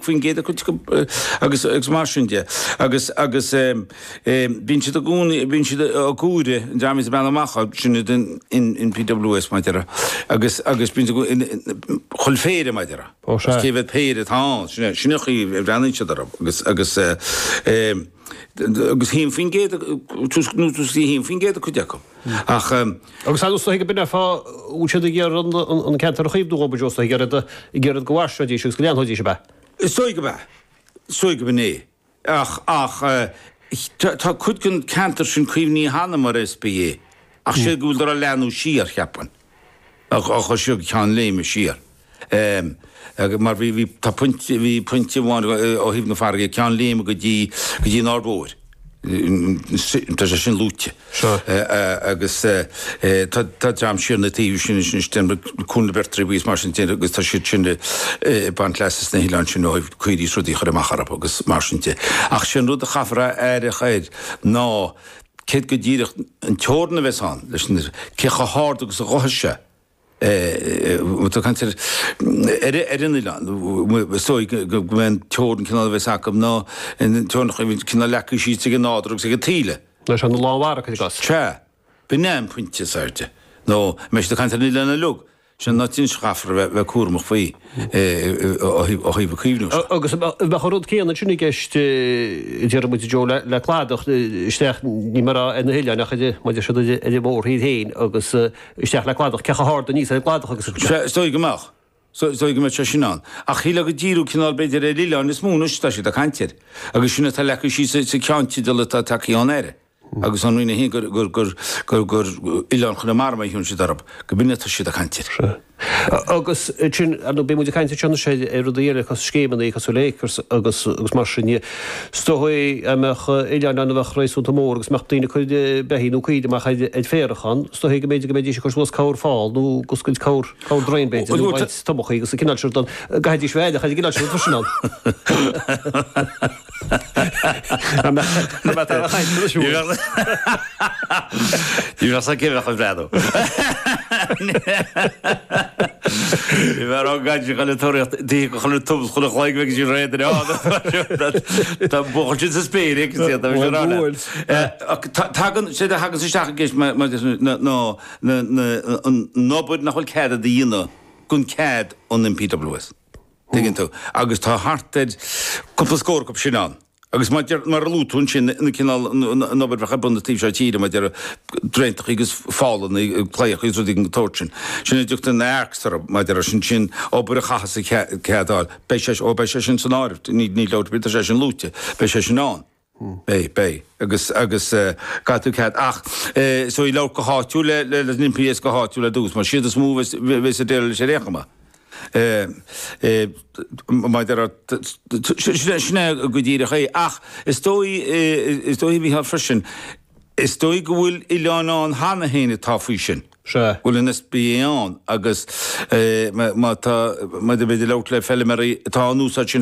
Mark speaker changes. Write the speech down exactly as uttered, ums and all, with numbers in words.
Speaker 1: faoin gcéad acu agus agus mar sin de agus agus bíonn siad i gcónaí bíonn siad ag cúire an dream is bean amach sin den N P W S mar a déarfá agus agus bíonn siad chuile phéire mar a déarfá cé mhéad péire atá ann sin sin a chaoi a bhreathnaíonn siad orthu agus agus agus haon faoin gcéad nó tús haon faoin gcéad a cuid acu ach
Speaker 2: Agus is dóigh go b'in fáth bhfuil siad ag iarraidh an ceantar a chaomhnú ó b'fhéidir ag iarraidh ag iarraidh go bhfaisneoidís agus go leanfaidís a bheith.
Speaker 1: Is dóigh go b'ea is dóigh go b'in é ach ach tá cuid den ceantar sin caomhnaithe cheana mar S P A ach sé go bhfuil leathnú siar cheapfainn ach ach siar ceann léime siar. Um, mar bhí bhí tá pointe bhí pointe amháin ó thaobh na farraige ceann léime go dtí go dtí an Aird Mhóir. Tá sé sin luaite agus tá dream siar na taobh sin sin cún na Beirtrí is mar sin agus tá siad sin baint leas na hoileáin sin ó chuirí rudaí chur amach orthu agus mar sin de. Ach sin rud a chaithfear aire air ná céard go díreach an teorainn a bheas ann leis cé chomh hard agus a ghabhfaidh sé. Tá caint ar ar an oileán so go mbeidh teorainn cineál a bheas acu ná teorainn cineál leagtha síos ag an nádúr agus ag an taoille.
Speaker 2: Leis an lánmhara chuid gas.
Speaker 1: Sea, b'in é an pointe is airde. Nó meis de caint ar an oileán uilig. Sin ná tin chaithfear bheith cúramach faoi ó thaobh a caomhnú.
Speaker 2: Agus bheadh an rud céanna sin i gceist deir muid Joe le le cladach isteach ní mar ar na hoileáin ach maidir siad ar an mórthír féin agus isteach le cladach cé chomh hard aníos ar an gcladach agus
Speaker 1: Is dóigh go mbeadh. So dóigh go mbeadh sé sin ann. Ach shíl go díú cineál b'fhéidir ar oileáin is mó anois tá siad ag caint air. Agus sin atá leagtha síos sa cheannteideal atá tagtha ón Aire. Agus an Roinn gur gur gur gur gur oileán Chonamara mar a thugann siad orthu, go b'in atá siad ag caint air.
Speaker 2: Agus sin nó beidh muid ag caint anseo sé ar rudaí eile cos scéimeanna cosúil le Acres agus agus mar sin is dóigh a mbeadh oileán ann a bheadh réasúnta mór agus mbeadh daoine ag cur beithígh nó caoirigh amach ar ar féarach ann, is dóigh go mb'fhéidir go mbeidís ag cur suas corr fál nó ag oscailt corr corr draein b'fhéidir nó baint tobachaí agus an cineál sin don gcaithfidís bheith aireach ar an gcineál sin freisin ann. Ní
Speaker 1: Ní bheadh cé bheadh ag breathnú. Ní bheadh rá gaid chuile toraíocht chuile tubs chuile chloig bheidh sí réidh Tá buachaill sin sa spéir Tagann sé a thagann isteach i gceist ná an obair nach bhfuil cead a dhéanamh gan cead an N P W S. Tuigeann tú agus tá thart ar cúpla scór acu sin ann. Agus mar a luaigh tú sin na cineál an obair bheadh ar bun na taobh seo tíre mar draentacha agus fálanna claíocha agus rudaí den tsórt sin. Sin a dtugtar na A R Cs orthu maidir sin sin obair a chaithfeas a cead a fháil. Beidh sé ó beidh sé sin san áireamh ní ní leabhar tá sé sin luaite, beidh sé sin ann. Beidh beidh agus agus caithfidh tú cead ach so i labhairt go háitiúil le le le N P S go háitiúil ar dtús, mar siad is mó bheas ag déileáil leis ar aon chuma. Maidir sin é go díreach é ach is dóigh is dóigh bhí freisin is dóigh go bhfuil oileán ann cheana féin atá faoi sin.
Speaker 2: Se.
Speaker 1: Bhfuil an S P A ann agus má tá maidir b'fhéidir labhairt le feilméaraí atá an úsáid sin.